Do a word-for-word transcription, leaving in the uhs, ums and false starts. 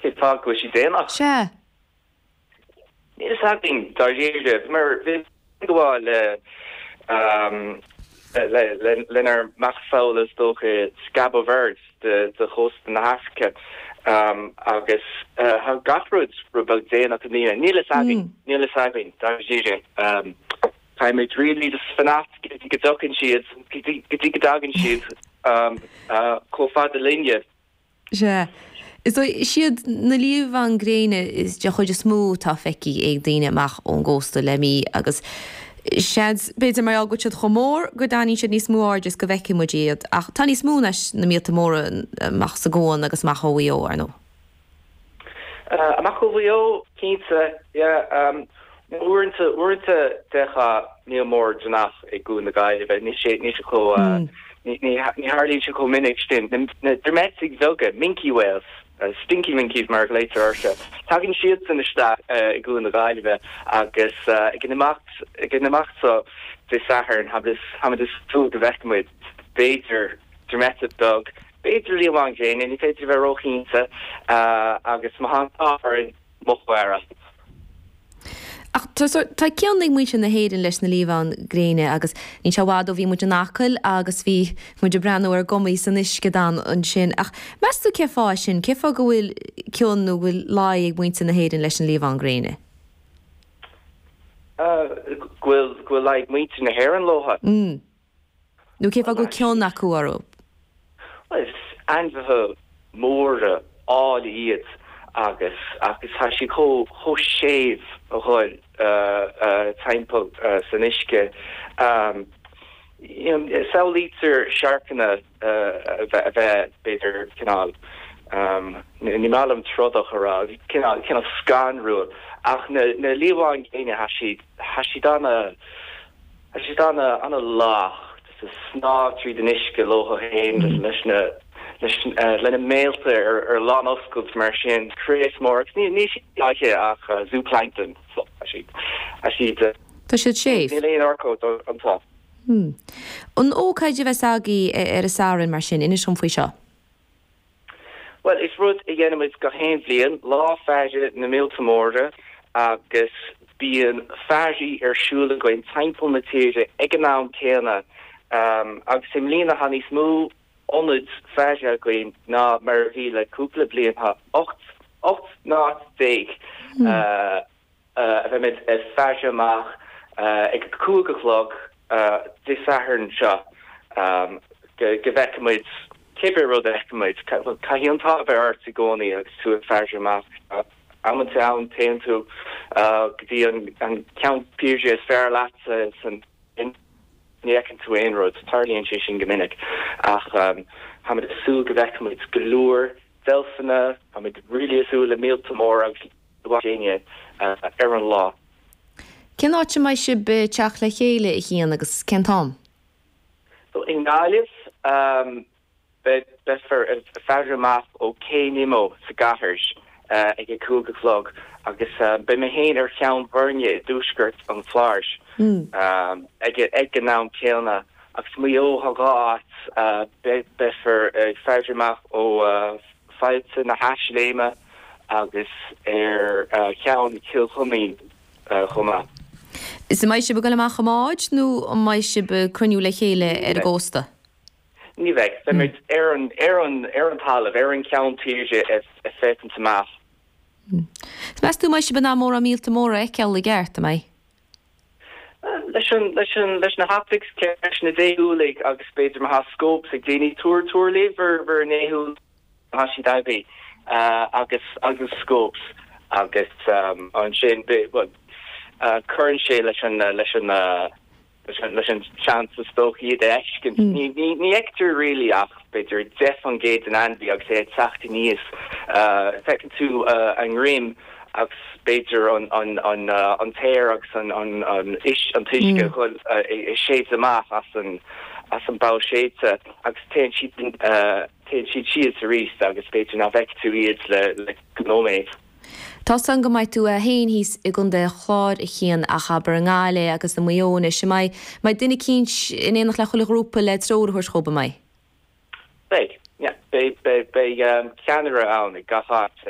Cén fáth go bhfuil sí déanach? Sea. Níl a fhios againn dáiríre, mar bhí gabháil le le le lenár macasamhail is dócha Cabo Verde de de chósta na hAfraice agus tá gach rud rud beag déanach i mbliana. Níl a fhios againn, níl a fhios againn dáiríre. Táimid really just fanacht go dtí go dtagann siad, go dtí go dtagann siad chomh fada linne. Sea. Is dóigh, is iad na liamháin gréine is de chuid is mó atá feicthe ag daoine amach ón gcósta le mí agus seans, b'fhéidir mar gheall go bhfuil siad chomh mór go dtarraingíonn siad níos mó airde is go bhfeiceann muid iad. Ach tá níos mó anois na míolta móra amach sa gcuan agus amach ó Mhaigh Eo, ar ndóigh. Amach ó Mhaigh Eo, cinnte, yeah. Uaireanta, uaireanta d'fheicfeá míol mór deannach i gCuan na Gaillimhe, níl sé, níl sé chomh, ní, ní tharlaíonn sé chomh minic sin. Na droimeiteacha beaga, minke whales, stinky minkies mar a ghlaoitear orthu, tagann siadsan isteach i gCuan na Gaillimhe agus ag an imeacht, ag an imeacht seo Dé Sathairn, táimid ag súil go bhfeicfimid, b'fhéidir, droimeiteach beag, b'fhéidir liamhán gréine, ní féidir a bheith róchinnte, agus má tá an t-ádh orainn, muc mhara. Ach tá tá cion ag muintir na hÉireann leis na liamháin gréine agus níl sé i bhfad ó bhí muid in Acaill agus bhí muid ag breathnú ar ghumaí san uisce donn ansin. Ach meas tú cén fáth é sin? Cén fáth go bhfuil cion nó go bhfuil luí ag muintir na hÉireann leis an liamhán gréine? Go bhfuil go bhfuil luí ag muintir na hÉireann leo? Mm. Nó cén fáth go bhfuil cion acu orthu? Bhuel, is ainmhithe móra áille iad agus agus tá siad chomh chomh séimh a dhul timpeall san uisce. You know, samhlaítear siorcanna a bheith a bheith b'fhéidir cineál ní maith liom trodach a rá, cineál cineál scanrúil ach na na liamháin ghéine tá siad tá siad ana Tá siad ana, ana lách, just ag snámh tríd an uisce leo féin leis na, leis, lena mbéalta ar, ar lán-oscailt mar sin, crios mór agus ní, níl siad ag ithe ach zooplankton, so tá siad, tá siad, Tá siad séimh. níl aon urchóid iontu. Hmm. An ócáid a bheas agaibh ar an Satharn mar sin, inis dom faoi seo. Bhuel, is rud a dhéanaimid gach aon bhliain, Lá Faire na Míolta Móra, agus bíonn fairí ar siúl againn timpeall na tíre ag an am céanna, agus i mbliana tá níos mó ionaid faire againn ná mar a bhí le cúpla bliain, tá ocht, ocht n-áit déag. a bheimid ag faire amach ag a cúig a chlog Dé Sathairn seo go bhfeicfimid cibé rud a fheicfimid. Caithfidh an t-ádh a bheith ort i gcónaí agus tú ag faire amach. Amanta ann téann tú go dtí an ceann tíre is fearr leat san ní fheiceann tú aon rud. Tarlaíonn sé sin go minic. Ach táimid ag súil go bhfeicfimid go leor deilfeanna, táimid really ag súil le míolta móra agus gréine ar an lá. Cén áit a mbeidh sibh ag teacht le chéile, a Chian, agus cén t-am? So i nGaillimh, beifear ag faire amach ó Cé Nimmo sa gcathair ag a cúig a chlog agus beidh mé féin ar Cheann Bhoirne i dtuaisceart an Chláir ag an am céanna. Agus Maigh Eo, tá dhá áit, beifear ag faire amach ó Faillte na hEisléime agus ar Cheann Chill Choimín chomh maith. Is an mbeidh sibh ag dul amach i mbáid nó an mbeidh sibh ag cruinniú le chéile ar an gcósta? Ní bheidh. Beimid ar an, ar an, ar an talamh, ar an gceann tíre ag féachaint amach. Is meas tú an mbeidh sibh in ann mórán míolta móra a fheiceáil i gceart, an mbeidh? Leis an, leis an, leis na hoptics, leis na déshúiligh agus b'fhéidir má tá scopes ag daoine, tabhair, tabhair libh bhur, bhur ndéshúil má tá siad agaibh agus, agus scopes agus ansin, bhuel, cuireann sé leis an, leis an, leis an, leis an seans is dócha iad a fheiscint. Ní, ní, ní fheictear really ach b'fhéidir deich faoin gcéad den ainmhí agus é ag teacht aníos. Feiceann tú a ndroim agus b'fhéidir an t-aer agus an t-uisce ag séideadh amach as an as an bpoll séidte agus téann siad téann siad síos arís agus b'fhéidir nach bhfeicfidh tú iad le le nóiméad. Tá's agam go mbeidh tú féin thíos i gContae an Chláir a Chian ach abair i nGaillimh agus i Maigh Eo anois, an mbeidh mbeidh duine eicínt in éineacht le chuile ghrúpa le treoir a thabhairt dhóibh, an mbeidh? Beidh, yeah. Beidh beidh beidh ceannaire ann ag gach áit.